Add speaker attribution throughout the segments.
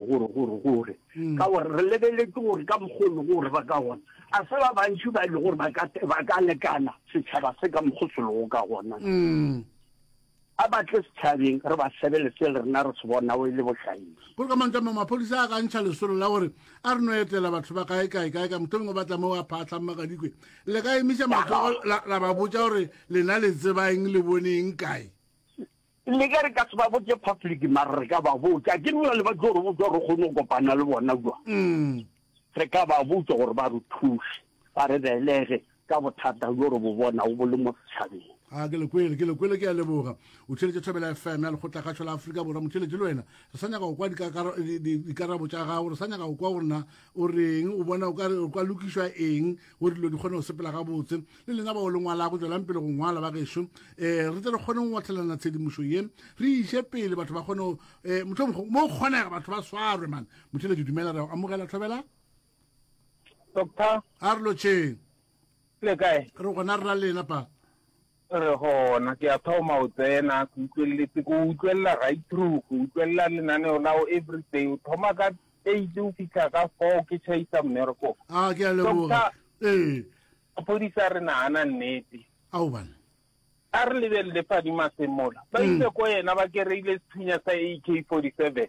Speaker 1: gore gore gore mm. ka gore re lebeletse gore ka mokgolo gore ba ka gona a se ba bantši ba e le gore ba ka lekana setšhaba se ka mokgo se lego ka gona mm. A ba tle setšhabeng re ba sebele se le rena re se bonago e le bohlaedi.
Speaker 2: Gore ka mantšu a mangwe, maphodisa a ka ntšha lesolo la gore a re no etela batho ba kae kae kae kae, mohlomongwe ba tla mo ba phaahlang magadikwe. Le ka emiša matsogo la, la ba botša gore lena le tseba eng, le bone eng kae?
Speaker 1: Le ge re ka se ba botše public, mara re ka ba botša. Ke bjale ba tlo re botša gore re kgone go kopana le bona kua. Re ka ba botša gore ba re thuše, ba re belege ka bothata bjo re bo bonago bo le mo setšhabeng.
Speaker 2: A ke le kwele, ke le kwele, ke a leboga. O theeletše Thobela FM ya Lekgotlakgašo la Afrika Borwa. Motheeletši le wena, re sa nyaka go kwa dikarabo tša gago, re sa nyaka go kwa gore na o reng, o bona o ka re o ka lokišwa eng gore dilo di kgone go sepela gabotse. Le lena bao le ngwalago, tšwelang pele go ngwala ba gešo, um re tle re kgone go ngwathelana tshedimošo ye, re iše pele, batho ba kgone go, um mohlomongwe mo go kgonega batho ba swarwe man. Motheeletši dumela, re a go amogela Thobela.
Speaker 3: Doctor.
Speaker 2: A re lotšheng.
Speaker 3: Le kae?
Speaker 2: Re gona re ra lena pa.
Speaker 3: Re gona, ke a thoma o tsena, ke utlweletse, ke utlwelela right through, ke utlwelela lenaneo la o every day. O thoma ka 8 o fitlha ka 4 ke chaisa mmereko.
Speaker 2: A ke a leboga.
Speaker 3: Ee. Maphodisa re nagana nnete.
Speaker 2: Ao bana.
Speaker 3: A re lebelele Fadi Masemola. Ba ile ko yena ba kereile sethunya sa AK47.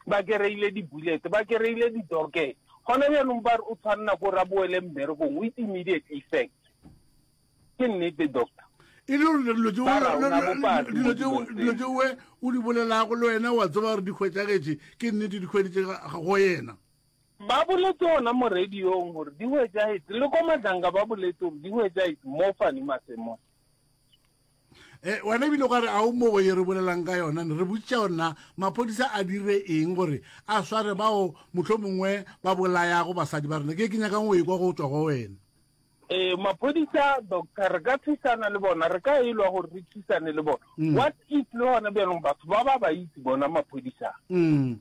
Speaker 3: Ba kereile di-bullet, ba kereile di-docket. Gona bjanong ba re o tshwanela ko re a boele mmerekong with immediate effect. Ke nnete, doctor.
Speaker 2: E le gore dilo tšeo
Speaker 3: Ba ra o na bopaki
Speaker 2: dilo
Speaker 3: mo
Speaker 2: tšeo
Speaker 3: dilong
Speaker 2: dilo
Speaker 3: tseo.
Speaker 2: tšeo o di bolelago le wena wa tseba gore di hwetšagetše ke nnete di hweditše go yena.
Speaker 3: Ba boletse gona mo radiong gore di hwetšagetše, le ko Madlanga ba boletse gore di hwetšagetše mo Fanny Masemola.
Speaker 2: Eh, wena ebile o ka re a o mo ye re bolelang ka yona ne re botšiša gore na maphodisa a dire eng gore a sware bao motlho mongwe ba bolayago basadi ba rena ke ke nyakang o ekwa go tswa go wena
Speaker 3: Ee, maphodisa doctor re ka thusana le bona re ka elwa gore re thusane le bona mm. what if le gona bjanong batho ba ba ba itse bona maphodisa
Speaker 2: mm.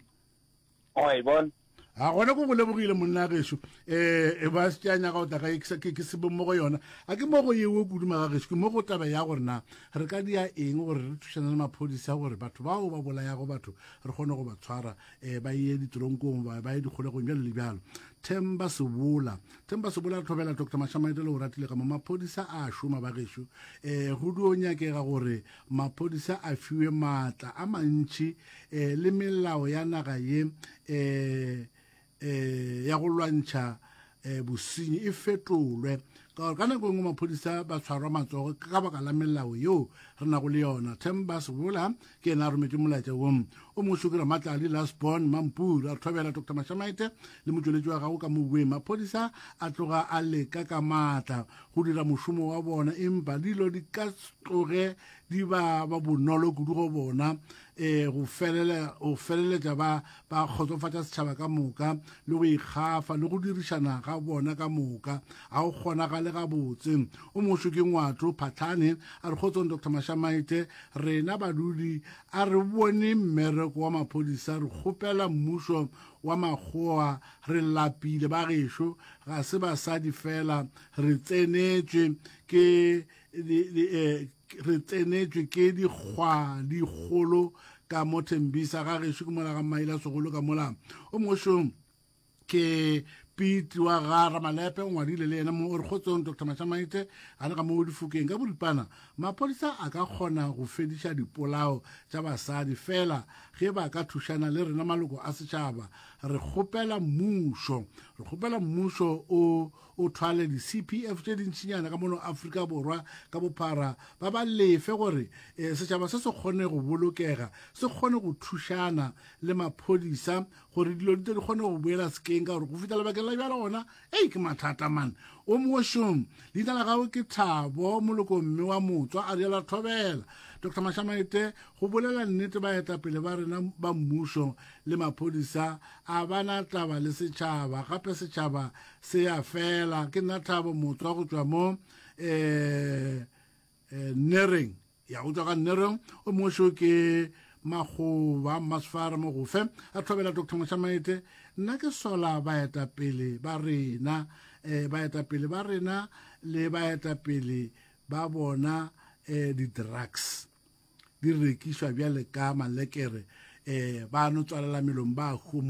Speaker 3: Wa e bona?
Speaker 2: A gona ko go lebogile monna gešo um ba se a nyaka go tla ga ke sebe mo go yona a ke mo go yewe kudu maga gešo ke mo go taba ya gore na re ka dia eng gore re thušana le maphodisa gore batho bao ba bolayago batho re kgone go ba tshwara um ba ye ditoronkong ba ba ye dikgolegong bjalo le bjalo themba sebola themba sebola re thobela dr mashamaete le o ratile ka mo maphodisa a šoma ba gešo um go dio nyakega gore maphodisa a fiwe maatla a mantši eh, le melao ya naga ye eh, eh, ya go lwantšha eh, bosenyi e fetolwe ka gore ka nako e nngwe maphodisa ba tshwarwa matsogo ka baka la melao yeo re nago le yona themba sebola ke ena a rometše molaetša wo o mongwe šokira matladi lasbon mampuru a thobela dr mashamaite le motšweletši wa gago ka mobueng maphodisa a tloga a leka ka maatla go dira mošomo wa bona empa dilo di ka tloge di ba ba bonolo kudu go bona um go felela go feleletša ba ba kgotsofatša setšhaba ka moka le go ikgafa le go dirišana ga bona ka moka ga go kgonagale gabotse o mošo ke ngwato phatlhane a re kgotsong dr mashamaite rena badudi a re bone mmereko wa maphodisa re kgopela mmušo wa makgowa re lapile ba gešo ga se basadi fela re tsenetšwe ke eh, re tsenetšwe ke dikgwa dikgolo ka mo thembisa ga gešo ke mola ga maila segolo ka mola o mošong ke pete wa ga ramalepe o ngwadile le yena mo o re kgotsong dr mashamaite ga le ga mo difokeng ka boripana maphodisa a ka kgona go fediša dipolao tša basadi fela ge ba ka thušana le rena maloko a setšhaba re kgopela mmušo re kgopela mmušo o o thwale di-cpf tše dintšinyana ka mono afrika borwa ka bophara ba ba lefe gore um setšhaba se se kgone go bolokega se kgone go thušana le maphodisa gore dilo di tle di kgone go boela sekeng ka gore go fihla lebakeng la bjalo gona ei ke mathata man o mošong leina la gago ke thabo moloko mme wa motswa a riela thobela dr mashamaite go bolela nnete baetapele ba rena ba mmušo le maphodisa a bana taba le setšhaba gape setšhaba Se ya fela. Ke nna Thabo Motswa go tšwa mo eh, eh, Nereng. Ya go tšwa ka Nereng. O mongwe šo ke Makgoba Mmasefara Mogofe a thobela Dr. Mošamaete. Nna ke sola baetapele ba rena eh, baetapele ba rena le baetapele ba bona eh, di-drugs di rekišwa bjale ka malekere eh, ba no tswalela melomo ba homola.